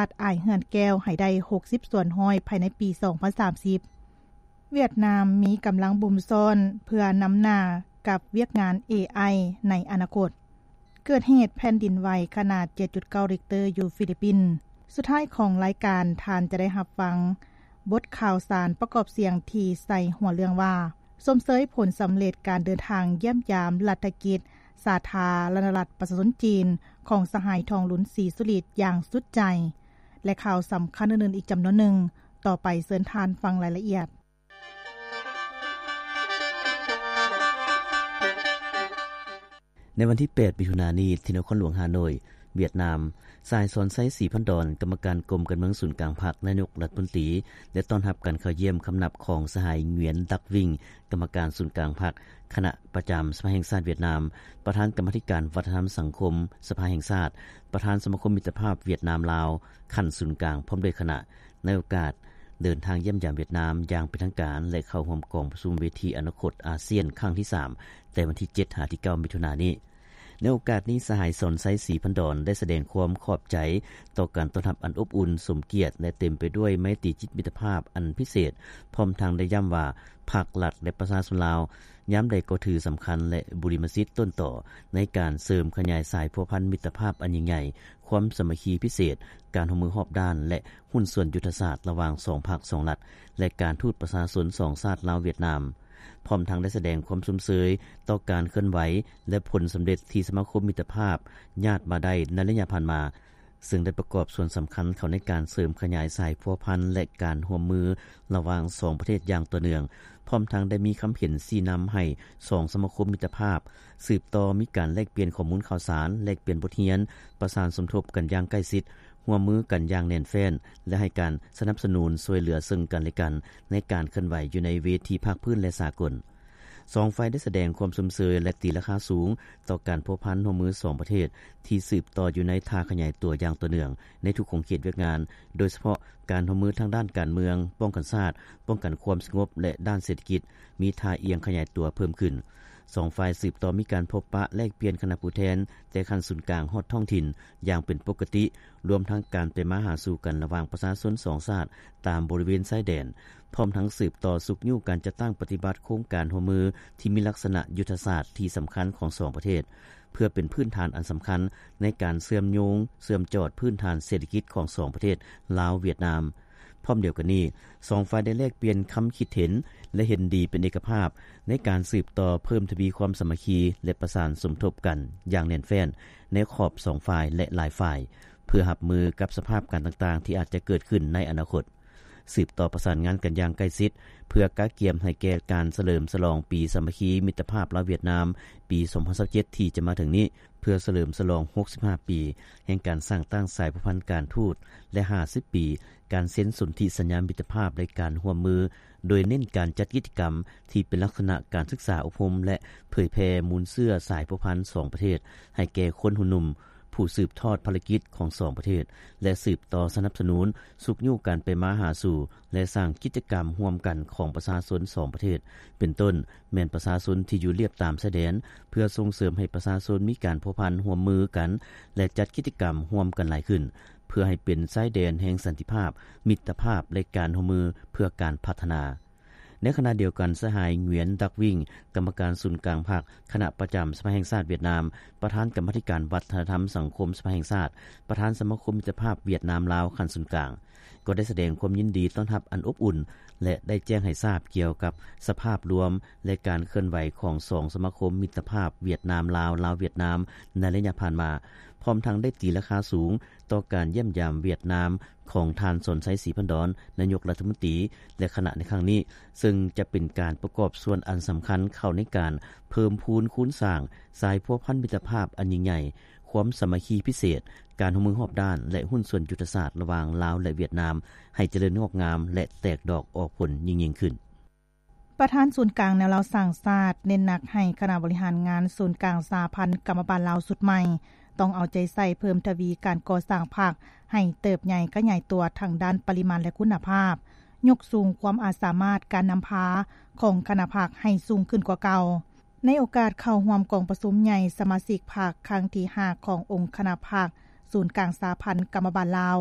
ດອ້າຍເຮືອນແກ້ວໃຫ້ໄດ້ຫົກສິບສ່ວນຮ້ອຍພາຍໃນປີສອງພັນສາມສິບ. ຫວຽດນາມມີກຳລັງບຸມຊ້ອນເພື່ອນຳໜ້າກັບວຽກງານ ເອໄອ ໃນອະນາຄົດ. ເກີດເຫດແຜ່ນດິນໄຫວຂະໜາດເຈັດຈຸດເກົ້າລິກເຕີຢູ່ຟີລິບປິນ. ສຸດທ້າຍຂອງລາຍການ, ທ່ານຈະໄດ້ຮັບຟັງບົດຂ່າວສານປະກອບສຽງທີ່ໃສ່ຫົວເລື່ອງວ່າ ຊົມເຊີຍຜົນສຳເລັດການເດີນທາງຢ້ຽມຢາມລັດຖະກິດສາທາລະນະລັດປະຊາຊົນຈີນ ຂອງສະຫາຍ ທອງລຸນ ສີສຸລິດ ຢ່າງສຸດໃຈ ແລະ ຂ່າວສຳຄັນອື່ນໆອີກຈຳນວນໜຶ່ງ. ຕໍ່ໄປເຊີນທ່ານຟັງລາຍລະອຽດ. ໃນວັນທີແປດ ມິຖຸນານີ້ ທີ່ນະຄອນຫຼວງຮ່າໂນ້ຍ ຫວຽດນາມ, ສະຫາຍ ສອນໄຊ ສີພັນດອນ ກຳມະການກົມການເມືອງສູນກາງພັກ, ນາຍົກລັດຖະມົນຕີ ໄດ້ຕ້ອນຮັບການເຂົ້າຢ້ຽມຄຳນັບຂອງສະຫາຍ ຫງວຽນ ດັກວິງ ກຳມະການສູນກາງພັກ, ຄະນະປະຈຳສະພາແຫ່ງຊາດຫວຽດນາມ, ປະທານກຳມາທິການວັດທະນະທຳສັງຄົມສະພາແຫ່ງຊາດ, ປະທານສະມາຄົມມິດຕະພາບຫວຽດນາມ-ລາວ ຂັ້ນສູນກາງ ພ້ອມດ້ວຍຄະນະ. ໃນໂອກາດເດີນທາງຢ້ຽມຢາມຫວຽດນາມຢ່າງເປັນທາງການ ແລະ ເຂົ້າຮ່ວມກອງປະຊຸມເວທີອະນາຄົດອາຊຽນຄັ້ງທີສາມ ແຕ່ວັນທີເຈັດຫາທີເກົ້າ ມິຖຸນານີ້. ໃນໂອກາດນີ້, ສະຫາຍ ສອນໄຊ ສີພັນດອນ ໄດ້ສະແດງຄວາມຂອບໃຈຕໍ່ການຕ້ອນຮັບອັນອົບອຸ່ນ, ສົມກຽດ ແລະ ເຕັມໄປດ້ວຍໄມຕີຈິດມິດຕະພາບອັນພິເສດ, ພ້ອມທັງໄດ້ຢ້ຳວ່າ ພັກ, ລັດ ແລະ ປະຊາຊົນລາວ ຍາມໃດກໍຖືສຳຄັນ ແລະ ບຸລິມະສິດຕົ້ນຕໍໃນການເສີມຂະຫຍາຍສາຍພົວພັນມິດຕະພາບອັນຍິ່ງໃຫຍ່, ຄວາມສາມັກຄີພິເສດ, ການຮ່ວມມືຮອບດ້ານ ແລະ ຫຸ້ນສ່ວນຍຸດທະສາດລະຫວ່າງສອງພັກສອງລັດ ແລະ ການທູດປະຊາຊົນສອງຊາດລາວ-ຫວຽດນາມ, ພ້ອມທັງໄດ້ສະແດງຄວາມຊົມເຊີຍຕໍ່ການເຄື່ອນໄຫວ ແລະ ຜົນສຳເລັດທີ່ສະມາຄົມມິດຕະພາບຍາດມາໄດ້ໃນໄລຍະຜ່ານມາ, ເຊິ່ງໄດ້ປະກອບສ່ວນສຳຄັນເຂົ້າໃນການເສີມຂະຫຍາຍສາຍພົວພັນ ແລະ ການຮ່ວມມືລະຫວ່າງສອງປະເທດຢ່າງຕໍ່ເນື່ອງ, ພ້ອມທັງໄດ້ມີຄຳເຫັນຊີ້ນຳໃຫ້ສອງສະມາຄົມມິດຕະພາບສືບຕໍ່ມີການແລກປ່ຽນຂໍ້ມູນຂ່າວສານ, ແລກປ່ຽນບົດຮຽນ, ປະສານສົມທົບກັນຢ່າງໃກ້ຊິດ, ຮ່ວມມືກັນຢ່າງແໜ້ນແຟ້ນ ແລະ ໃຫ້ການສະໜັບສະໜູນຊ່ວຍເຫຼືອເຊິ່ງກັນ ແລະ ກັນໃນການເຄື່ອນໄຫວຢູ່ໃນເວທີພາກພື້ນ ແລະ ສາກົນ. ສອງຝ່າຍໄດ້ສະແດງຄວາມຊົມເຊີຍ ແລະ ຕີລາຄາສູງຕໍ່ການພົວພັນຮ່ວມມືສອງປະເທດ ທີ່ສືບຕໍ່ຢູ່ໃນທ່າຂະຫຍາຍຕົວຢ່າງຕໍ່ເນື່ອງໃນທຸກຂົງເຂດວຽກງານ, ໂດຍສະເພາະການຮ່ວມມືທາງດ້ານການເມືອງ, ປ້ອງກັນຊາດ, ປ້ອງກັນຄວາມສະຫງົບ ແລະ ດ້ານເສດຖະກິດ ມີທ່າອ່ຽງຂະຫຍາຍຕົວເພີ່ມຂຶ້ນ. ສອງຝ່າຍສືບຕໍ່ມີການພົບປະແລກປ່ຽນຄະນະຜູ້ແທນ ແຕ່ຂັ້ນສູນກາງຮອດທ້ອງຖິ່ນຢ່າງເປັນປົກກະຕິ, ລວມທັງການໄປມາຫາສູ່ກັນລະຫວ່າງປະຊາຊົນສອງຊາດຕາມບໍລິເວນຊາຍແດນ, ພ້ອມທັງສືບຕໍ່ຊຸກຍູ້ການຈັດຕັ້ງປະຕິບັດໂຄງການຮ່ວມມືທີ່ມີລັກສະນະຍຸດທະສາດທີ່ສຳຄັນຂອງສອງປະເທດ, ເພື່ອເປັນພື້ນຖານອັນສຳຄັນໃນການເຊື່ອມໂຍງ, ເຊື່ອມຈອດພື້ນຖານເສດຖະກິດຂອງສອງປະເທດ ລາວ-ຫວຽດນາມ. ພ້ອມດຽວກັນນີ້, ສອງຝ່າຍໄດ້ແລກປ່ຽນຄຳຄິດເຫັນ ແລະ ເຫັນດີເປັນເອກະພາບໃນການສືບຕໍ່ເພີ່ມທະວີຄວາມສາມັກຄີ ແລະ ປະສານສົມທົບກັນຢ່າງແໜ້ນແຟ້ນໃນຂອບສອງຝ່າຍ ແລະ ຫຼາຍຝ່າຍ, ເພື່ອຮັບມືກັບສະພາບການຕ່າງໆທີ່ອາດຈະເກີດຂຶ້ນໃນອະນາຄົດ. ສືບຕໍ່ປະສານງານກັນຢ່າງໃກ້ຊິດ ເພື່ອກະກຽມໃຫ້ແກ່ການສະເຫຼີມສະຫຼອງປີສາມັກຄີມິດຕະພາບລາວ-ຫວຽດນາມ ປີສອງພັນຊາວເຈັດ ທີ່ຈະມາເຖິງນີ້, ເພື່ອສະເຫຼີມສະຫຼອງຫົກສິບຫ້າປີແຫ່ງການສ້າງຕັ້ງສາຍພົວພັນການທູດ ແລະ ຫ້າສິບປີການເຊັນສົນທິສັນຍາມິດຕະພາບ ແລະ ການຮ່ວມມື, ໂດຍເນັ້ນການຈັດກິດຈະກຳທີ່ເປັນລັກສະນະການສຶກສາອົບຮົມ ແລະ ເຜີຍແຜ່ມູນເຊື້ອສາຍພົວພັນສອງປະເທດ ໃຫ້ແກ່ຄົນຮຸ່ນໜຸ່ມ ຜູ້ສືບທອດພາລະກິດຂອງສອງປະເທດ ແລະ ສືບຕໍ່ສະໜັບສະໜູນ, ຊຸກຍູ້ການໄປມາຫາສູ່ ແລະ ສ້າງກິດຈະກຳຮ່ວມກັນຂອງປະຊາຊົນສອງປະເທດ, ເປັນຕົ້ນແມ່ນປະຊາຊົນທີ່ຢູ່ລຽບຕາມຊາຍແດນ, ເພື່ອສົ່ງເສີມໃຫ້ປະຊາຊົນມີການພົວພັນຮ່ວມມືກັນ ແລະ ຈັດກິດຈະກຳຮ່ວມກັນຫຼາຍຂຶ້ນ, ເພື່ອໃຫ້ເປັນຊາຍແດນແຫ່ງສັນຕິພາບ, ມິດຕະພາບ ແລະ ການຮ່ວມມືເພື່ອການພັດທະນາ. ໃນຂະນະດຽວກັນ, ສະຫາຍ ຫງວຽນ ດັກວິງ ກຳມະການສູນກາງພັກ, ຄະນະປະຈຳສະພາແຫ່ງຊາດຫວຽດນາມ, ປະທານກຳມາທິການວັດທະນະທຳສັງຄົມສະພາແຫ່ງຊາດ, ປະທານສະມາຄົມມິດຕະພາບຫວຽດນາມ-ລາວຂັ້ນສູນກາງ ກໍໄດ້ສະແດງຄວາມຍິນດີຕ້ອນຮັບອັນອົບອຸ່ນ ແລະ ໄດ້ແຈ້ງໃຫ້ຊາບກ່ຽວກັບສະພາບລວມ ແລະ ການເຄື່ອນໄຫວຂອງສອງສະມາຄົມມິດຕະພາບຫວຽດນາມ-ລາວ, ລາວ-ຫວຽດນາມ ໃນໄລຍະຜ່ານມາ, ພ້ອມທັງໄດ້ຕີລາຄາສູງຕໍ່ການຢ້ຽມຢາມຫວຽດນາມ ຂອງທ່ານ ສອນໄຊ ສີພັນດອນ ນາຍົກລັດຖະມົນຕີ ແລະ ຄະນະໃນຄັ້ງນີ້, ເຊິ່ງຈະເປັນການປະກອບສ່ວນອັນສຳຄັນເຂົ້າໃນການເພີ່ມພູນຄູນສ້າງສາຍພົວພັນມິດຕະພາບອັນຍິ່ງໃຫຍ່, ຄວາມສາມັກຄີພິເສດ, ການຮ່ວມມືຮອບດ້ານ ແລະ ຫຸ້ນສ່ວນຍຸດທະສາດລະຫວ່າງລາວ ແລະ ຫວຽດນາມ ໃຫ້ຈະເລີນງອກງາມ ແລະ ແຕກດອກອອກຜົນຍິ່ງໆຂຶ້ນ. ປະທານສູນກາງແນວລາວສ້າງຊາດ ເນັ້ນໜັກໃຫ້ຄະນະບໍລິຫານງານສູນກາງສະຫະພັນກຳມະບານລາວຊຸດໃໝ່ ຕ້ອງເອົາໃຈໃສ່ເພີ່ມທະວີການກໍ່ສ້າງພັກໃຫ້ເຕີບໃຫຍ່ຂະຫຍາຍຕົວທັງດ້ານປະລິມານ ແລະ ຄຸນນະພາບ, ຍົກສູງຄວາມອາດສາມາດການນຳພາຂອງຄະນະພັກໃຫ້ສູງຂຶ້ນກວ່າເກົ່າ. ໃນໂອກາດເຂົ້າຮ່ວມກອງປະຊຸມໃຫຍ່ສະມາຊິກພັກຄັ້ງທີຫ້າຂອງອົງຄະນະພັກສູນກາງສະຫະພັນກຳມະບານລາວ,